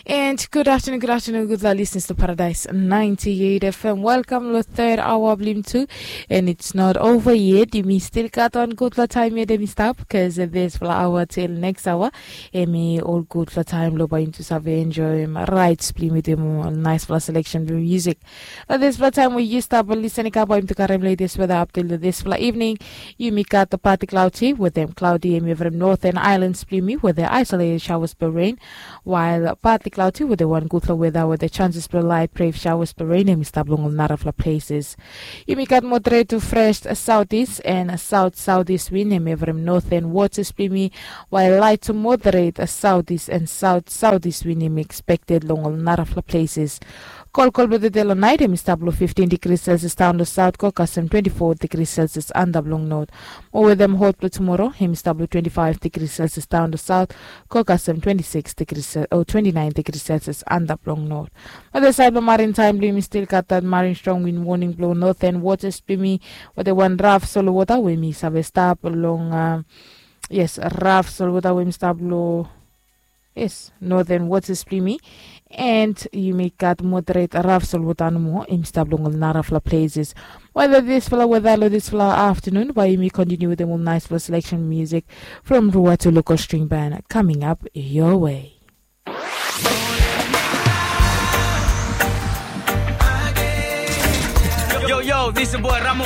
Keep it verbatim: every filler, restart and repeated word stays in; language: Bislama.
And good afternoon, good afternoon, gudfala listeners to Paradise ninety-eight F M. Welcome lo third hour blim tu. And it's not over yet. Yumi still gat wan gudfala time yet em i stap, cause this fala hour till next hour. Em i ol gudfala time lo bai yumi tu save enjoy em right blim with em ol nice fala selection blim music. Lo this fala time we yu stap listen i kam bai yumi tu karem latest weather update lo this fala evening. Yumi gat the partly cloudy with them cloudy em i from northern islands blim yumi with the isolated showers per rain. While partly cloudy with the one gudfala weather with the chances blong light brave showers blong rain em i stap long ol narafala places. Yumi gat moderate to fresh southeast and south southeast wind em evrim northern waters blong yumi. While light to moderate southeast and south southeast wind em expected long ol narafala places. Kolkol blong the day long night em i stap long fifteen degrees celsius down to south, kokasem twenty-four degrees celsius antap long north. Mo weather em hot blong tomorrow em i stap long twenty-five degrees celsius down to south, kokasem twenty-six degrees o twenty-nine degrees celsius antap long north. Mo the side blong marine time blong yumi still gat that marine strong wind warning blong northern waters blong yumi. Wetem wan raf solo wota we yumi save stap long a yes, raf solo wota we yumi stap long yes, northern waters blong yumi. And yumi gat moderate raf solo wota nomo em i stap long ol narafala places. Whether this fala weather lo this fala afternoon bai yumi continue wetem ol nice fala selection music from rua to local string band coming up your way. Yo, yo, this is boy Ramo.